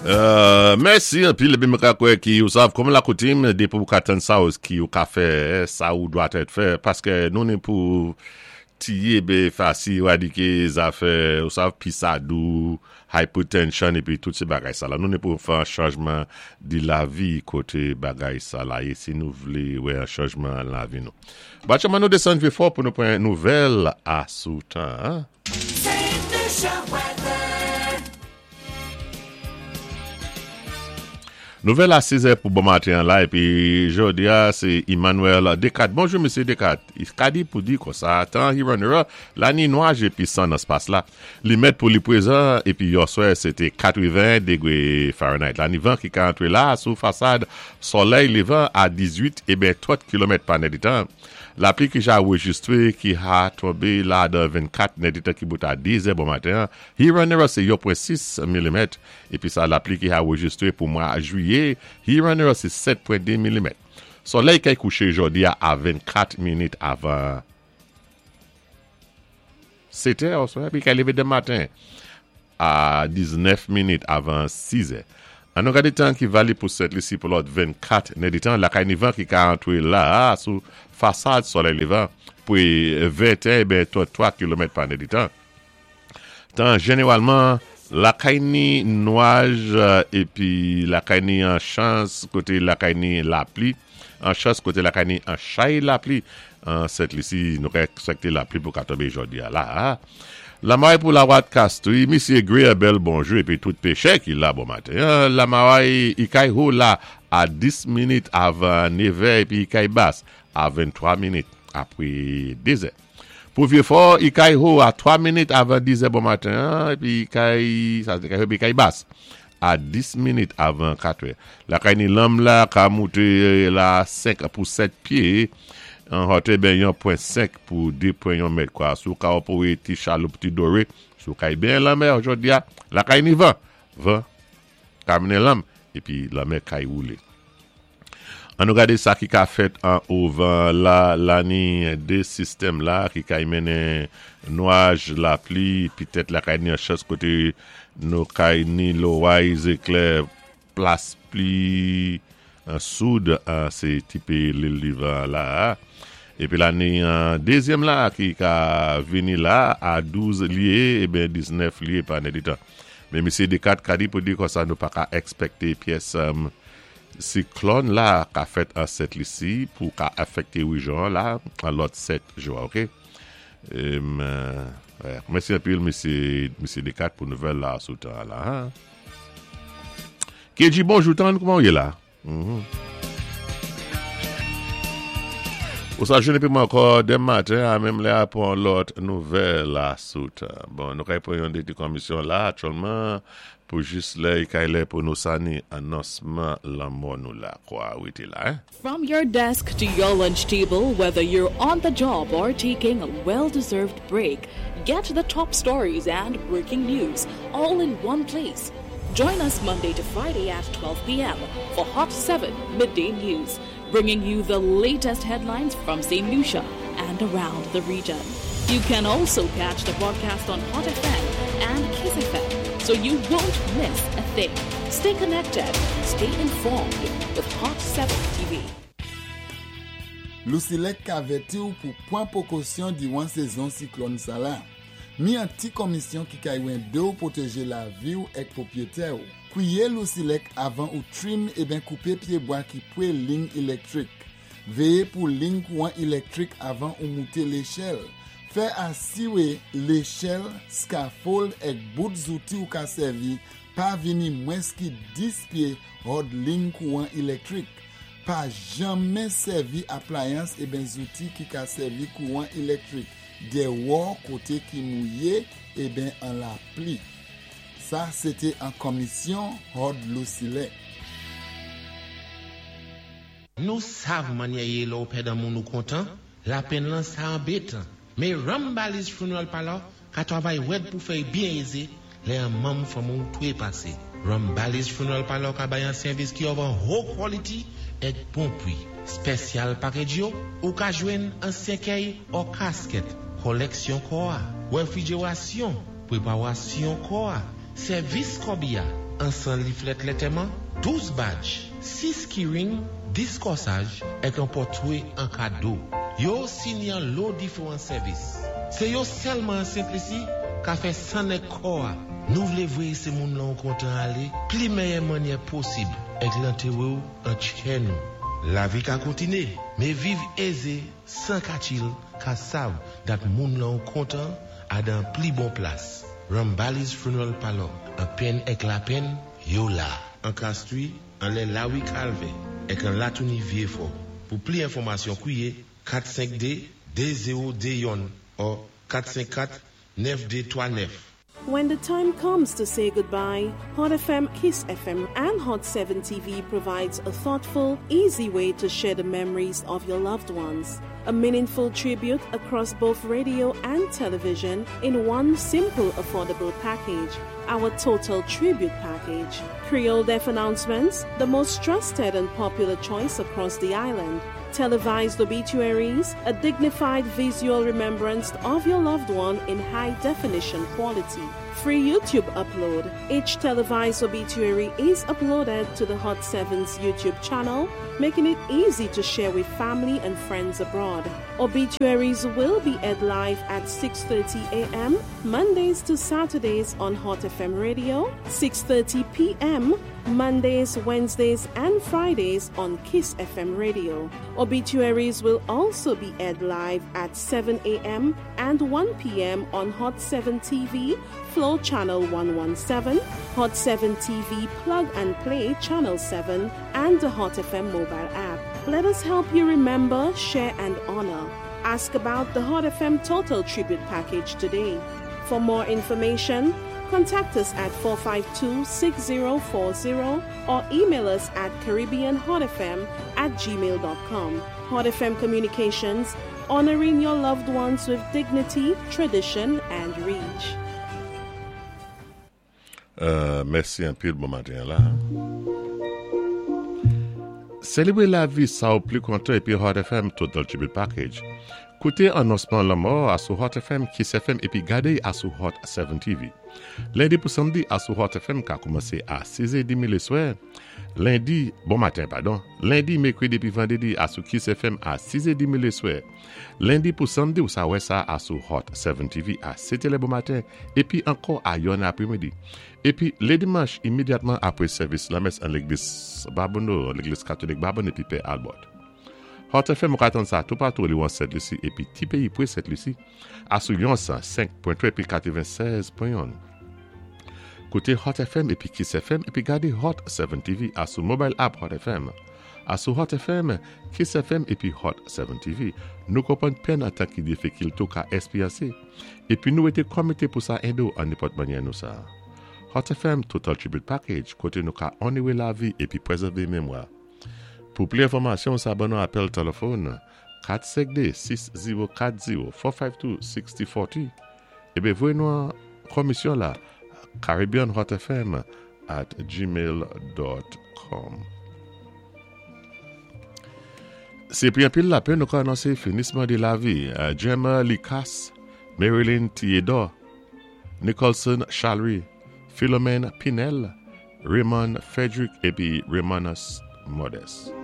Mèsi anpil epi mwen ka kwè ki ou sav kòm lakoutim depi ou ka tann sa ou ki ou ka fè sa ou dwa tèt fè paske nou ni pou tiye be fasi eradike zafè ou sav pisadou hypertension epi tout se bagay sa la nou ni pou fè an chanjman di lavi kote bagay sa la ye si nou vle wè an chanjman lavi nou. Batchanman nou desann vye fò pou nou pran nouvèl a sou tan an. Nouvèl a 6 è pou bon maten an la epi jodi a se Emmanuel Descartes. Bonjou mesye Descartes. Ka di pou di konsa tan Hironera la ni nwaj epi san nan spas la. Li mèt pou li prezan epi yòswè se te 81 degre Fahrenheit la ni van ki ka antre la sou fasad solèy levan a 18 eben 30 kilomèt pa nèdetan. Lapli ki ja rejistre ki ha tonbe la dan 24 nèdetan ki bout a 2 zè bon maten an Hironera se yon pwen 6 milimèt Epi sa lapli ki anrejistre pou mwa Jwiye Hiranera se 7.2 milimèt. Solèy kay kouche jodi a a 24 minit avan 7 è oswa epi kay leve demen maten a 19 minit avan 6 è. An nou gade tan ki valib pou Sent Lisi pou lòt 24 nèditan lakay ni van ki ka antre la a sou fasad solèy levan pre 21 eben 33 kilomèt pa nèditan. Tan jeneralman lakay ni nwaj epi lakay ni an chans kote lakay ni lapli an chans kote lakay ni an chay lapli an Sent Lisi nou ka ekspekte lapli pou ka tonbe jodi a la a. Lamaray pou Lawat Kastri Misye Greer bèl bonjou epi tout pechè ki la bon maten an Lamaray ikay ho la a 10 minit avan nevè epi ikay bas a 23 minit apre 2 zè. Pou Vyefò, Ikay Ho a 3 minit avan 10 zè bon maten an, epi Ikay, sa se Ikay Ho, epi Ikay Bas a 10 minit avan 4 è. Lakay ni lanm la ka moute la 5 pou 7 pye, an hòtè ben yon pwen 5 pou 2 pwen yon mèt kwa. Sou ka opore ti chaloup ti dore, sou kay ben lanmè jodi a, lakay ni van, van ka mennen lanm, epi lanmè kay woule. An nou gade sa ki ka fèt an ovan la lani 2 sistèm la ki kay mennen nwaj lapli pitèt lakay ni an chans kote nou kay ni loray zeklè plas pli an soud an se tipe lil divan la a epi lani an dezyèm la ki ka vini la a 12 lye eben 19 lye pa nèdetan men mesye Descartes ka di pou di konsa nou pa ka èkspèkte pyès Siklòn la ka fèt an Sent Lisi pou ka afekte rejyon an la an lòt 7 jou a ok. Mèsi anpil mesye mesye Decat pou nouvèl la sou tan an la ha. Kedji bonjou tann kouman ou ye la? Ou sa jwenn epi mwen ankò demen maten a menm lè a pou yon lòt nouvèl la sou tan. Bon nou ka pran yon de ti komisyon la aktyèlman Pou jis lè e kay lè pou nou sani anonsman lanmò nou la kwa rete la hein. From your desk to your lunch table, whether you're on the job or taking a well-deserved break, get the top stories and breaking news all in one place. Join us Monday to Friday at 12 p.m. for Hot 7 Midday News, bringing you the latest headlines from St. Lucia and around the region. You can also catch the broadcast on Hot FM and Kiss FM, so you won't miss a thing. Stay connected, stay informed with Hot 7 TV. Lousilèk ka vèti w pou pwan pwokosyon diwan sezon siklòn sa la. Mi an ti kòmisyon ki kay wende w pwoteje lavi w èk pwopyetè w. Kwiye Lousilèk avan ou trim eben koupe pyebwa ki pwe ling ilèktrik. Veye pou ling kouran ilèktrik avan ou moute lechèl. Fè asiwe lechèl, scaffold èk bout zouti ou ka sèvi pa vini mwens ki 10 pye hòd ling kouran ilèktrik. Pa janmen sèvi aplayans eben zouti ki ka sèvi kouran ilèktrik dèwò kote ki mouye eben an lapli. Sa se te an kòmisyon hòd Lousilèk. Nou sav mannyè ye lè w pèdan moun ou kontan, lapenn lan sa anbetan. Me Rambali's Funeral Parlor ka travay rèd pou fè y byen eze lè an manm fanmi w trepase. Rambali's Funeral Parlor ka bay an sèvis ki of an ho quality èk bon pri. Spèsyal package yo, ou ka jwenn an sèkèy or casket, kòlèksyon kò a, wèfrijerasyon, preparasyon kò a. Sèvis kòbiya, an 100 liflèt lantèman, 12 badj, 6 keyring, 10 kòsaj, èk an pòtwé an kado. Yo osi ni an lo diféwan sèvis. Sé yo sèlman an Sent Lisi ka fè 100 nèg kò-a. Nou vlé voyé sé moun lan ou kontan alé pli mèyè mannyè posib èk lantéwé-w an tchè nou. Lavi ka kontiné, mé viv ézé 100 ka chill ka sav dat moun lan ou kontan a dan pli bon plas. Rambali's Funeral Parlor, an penn èk lapenn, yo la. An Castries, anlè Lawi Kalvè, èk an Latouni Vyéfò. Pou pli enfòmasyon kwiyé 452 2021 or 454 9239. When the time comes to say goodbye, Hot FM, Kiss FM, and Hot 7 TV provides a thoughtful, easy way to share the memories of your loved ones. A meaningful tribute across both radio and television in one simple, affordable package. Our Total Tribute Package. Creole Death Announcements, the most trusted and popular choice across the island. Televised obituaries, a dignified visual remembrance of your loved one in high definition quality. Free YouTube upload. Each televised obituary is uploaded to the Hot 7's YouTube channel, making it easy to share with family and friends abroad. Obituaries will be aired live at 6:30 a.m. Mondays to Saturdays on Hot FM Radio, 6:30 p.m. Mondays, Wednesdays, and Fridays on Kiss FM Radio. Obituaries will also be aired live at 7 a.m. and 1 p.m. on Hot 7 TV, Flow Channel 117, Hot 7 TV Plug and Play Channel 7, and the Hot FM mobile app. Let us help you remember, share, and honor. Ask about the Hot FM Total Tribute Package today. For more information, contact us at 452 6040 or email us at CaribbeanHotFM@gmail.com. Hot FM Communications, honoring your loved ones with dignity, tradition, and reach. Mèsi anpil bon maten la. Selebre lavi sa ou pli kontan epi Hot FM Total Tribute Package. Koute anonsman lanmò a sou Hot FM, Kiss FM epi gade a sou Hot 7 TV. Lendi pou samdi a sou Hot FM ka koumanse a 6 è demi leswè. Lendi, bon maten padon, lendi, mekredi epi vandredi a sou Kiss FM a 6 è demi leswè. Lendi pou samdi ou sa wè sa a sou Hot 7 TV a 7 è lè bon maten epi ankò a yòn apremidi. Epi le dimanch imedyatman apre sèvis lamès an legliz Babonneau, legliz katolik Babonneau epi Pè Albert. Hot FM ou ka tann sa toupatou li wan Sent Lisi epi ti peyi pre Sent Lisi a sou yon 105.3 epi 96 pwen yonn. Koute Hot FM epi Kiss FM epi gade Hot 7 TV a sou mobile app Hot FM. A sou Hot FM, Kiss FM epi Hot 7 TV. Nou konprann pèn antan ki difikilte ou ka esperyanse epi nou rete komite pou sa ede w an nenpòt mannyè nou sa. Hot FM Total Tribute Package kote nou ka onore lavi epi prezève memwa. Pou pli enfòmasyon sa ban nou apèl telefòn 452 6040 452 6040 ebe voye nou an komisyon la caribbeanhotfm@gmail.com. Se pi anpil lapenn nou ka anonse finisman de lavi Gemma Licas, Marilyn Theodore, Nicholson Chalry, Philomène Pinel, Raymond Frederick epi Raymonus Modeste.